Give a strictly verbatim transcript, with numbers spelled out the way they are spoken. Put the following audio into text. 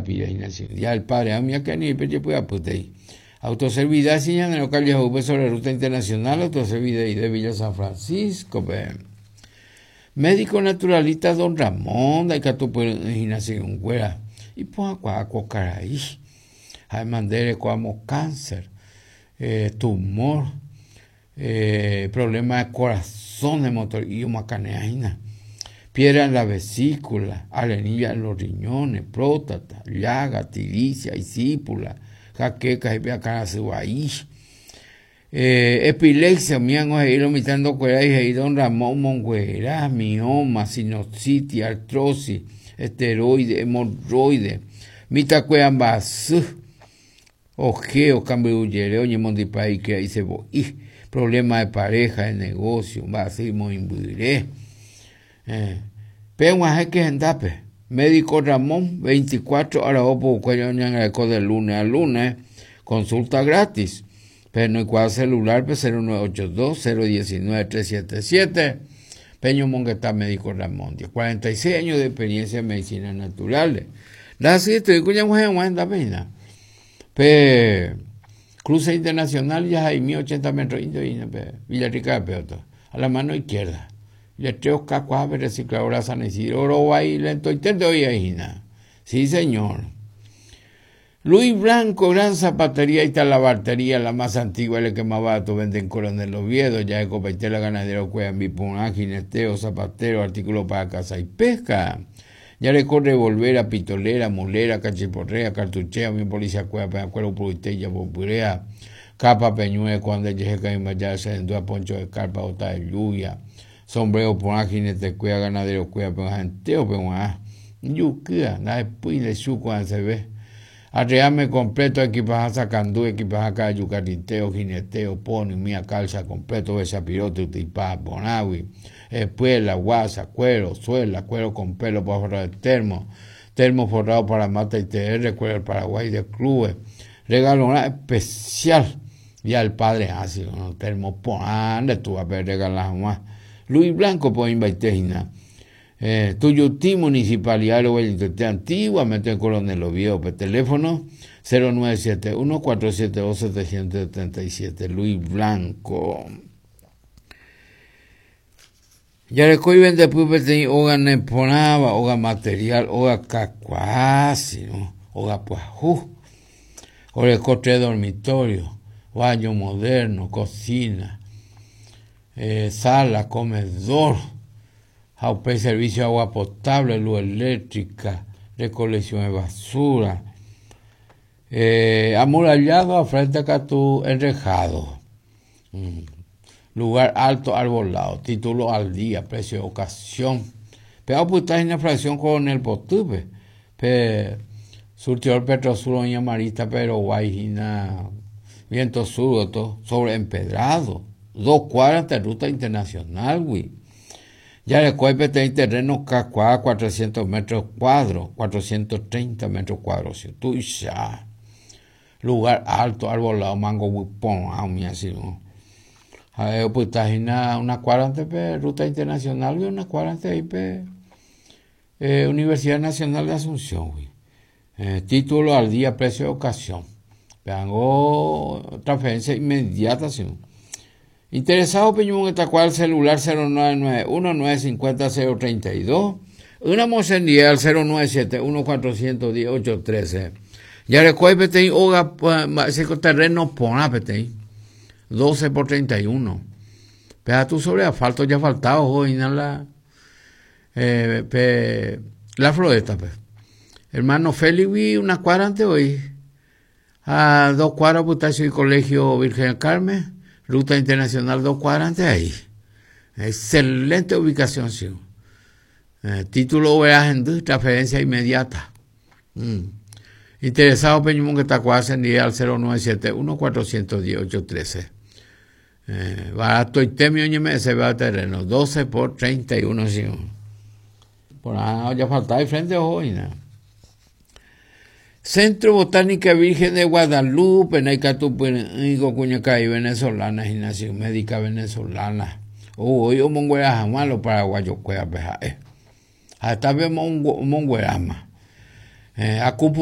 pira Día del Padre, amia que ni peche puya. Autoservidad en calle Jupe sobre ruta internacional, autoservidad de Villa San Francisco, pe. Médico naturalista Don Ramón, de Icatupinación, y pues caraí. Mandere como cáncer, eh, tumor, eh, problema de corazón, de motor y macaneaina, piedra en la vesícula, arenilla en los riñones, próstata, llaga, tiricia, isípula, jaqueca, y eh, epilepsia, miango, hilo mitando cuera y Don Ramón Monguera, mioma, sinusitis, artrosis, esteroide, hemorroide, mitacueambasú, ojeo, cambio yereo, ñemondipa y que ahí se voy, problema de pareja, de negocio, basimo, imbuiré. Eh, pero que endape, médico Ramón, veinticuatro horas opo, cuello de lunes a lunes, consulta gratis. Pero no hay celular, cero nueve ocho dos, cero diecinueve, tres siete siete. Peño Monguetá, médico Ramón, cuarenta y seis años de experiencia en medicina naturales. La siete, cuya mujer aguanta pena. Pe cruce internacional ya hay mil ochenta metros indio y Villarrica de Peoto, a la mano izquierda. Y el tres K recicladora San Isidro, oro ahí lento y te doy ahí. Sí, señor. Luis Blanco, gran zapatería y talabartería, la más antigua, el que más barato vende en Coronel Oviedo, ya de Copaitela, ganadero, cueva, bipun, jineteo, zapatero, artículo para caza y pesca. Ya le corre volver pitolera, mulera, cachiporrea, cartuchea, mi policía, cueva, peñacuero, puriteya, popurea, capa, peñue, cuando llegue, ya se endúa, poncho de carpa, bota de lluvia, sombrero, por jinete, cueva, ganadero, cueva, peñanteo, peñua, yuquía, la después de su cuando se ve. Arreame completo, equipaja sacandú, equipaja cayo, carriteo, jineteo, pony, mía calza completo, besapirote, utipá, bonagui, espuela, guasa, cuero, suela, cuero con pelo para forrar el termo, termo forrado para mata y T R, cuero del Paraguay de clubes, regalo una especial, y al padre así, ¿no? Termo, pon, tú a ver regalar más. Luis Blanco, pues, invaitejina. Eh, Tuyutí, Municipalidad de Wellington, antiguamente en Coronel Oviedo, teléfono cero nueve siete uno, cuatro siete dos, siete siete siete, Luis Blanco. Ya le coy vende pupe oga neponaba, oga material, oga cacuasi, ¿no? Oga puajú, oga cotre dormitorio, baño moderno, cocina, eh, sala, comedor, Jaupe, servicio de agua potable, luz eléctrica, recolección de basura, eh, amurallado a frente a Catú, enrejado, mm. Lugar alto, arbolado, título al día, precio de ocasión. Pero pues está en la fracción con el potupe, pe surtidor Petrosur, Doña Marita, pero Guayina, viento sur, todo, sobre empedrado, dos cuadras de ruta internacional, güey. Ya le cuerpo tiene terreno cacuá, cuatrocientos metros cuadros, cuatrocientos treinta metros cuadros, si tú ya. Lugar alto, arbolado, mango, huipón, ah, así, ¿no? A ver, pues está en una cuadra antes, pe, ruta internacional, y una cuadra antes ahí, pe, eh, Universidad Nacional de Asunción, güey. Eh, título al día, precio de ocasión. Hago transferencia inmediata, sí. Interesado, Peñón, está cual celular cero nueve nueve uno, nueve cinco cero, cero treinta y dos. Una mocenía al cero nueve siete uno, cuatrocientos diez, ocho trece. Ya recuerde, peteí, oga, ese terreno pona, peteí, doce por treinta y uno. Pero tú sobre asfalto ya faltaba, ojo, y la, eh, pe, la floresta, pe. Hermano Félix, vi una cuadra antes hoy. A dos cuadras, pues, está el Colegio Virgen del Carmen. Ruta internacional, dos cuadras antes ahí. Excelente ubicación, sí. Eh, título verás transferencia inmediata. Mm. Interesado, Peñumón, que está cuadra al cero nueve siete uno, cuatrocientos diez, ocho trece. Eh, barato y temio, ñeme, se va a terreno. doce por treinta y uno, sí. Por ahí ya faltaba de frente, ojo, y nada. Centro Botánica Virgen de Guadalupe, Naicatupuenico, Cuñacay, venezolana, Gimnasia Médica Venezolana. Uy, oh, monguera jamás los paraguayos cueva, peja, eh. Hasta vemos un monguerama. Eh, acupuntura.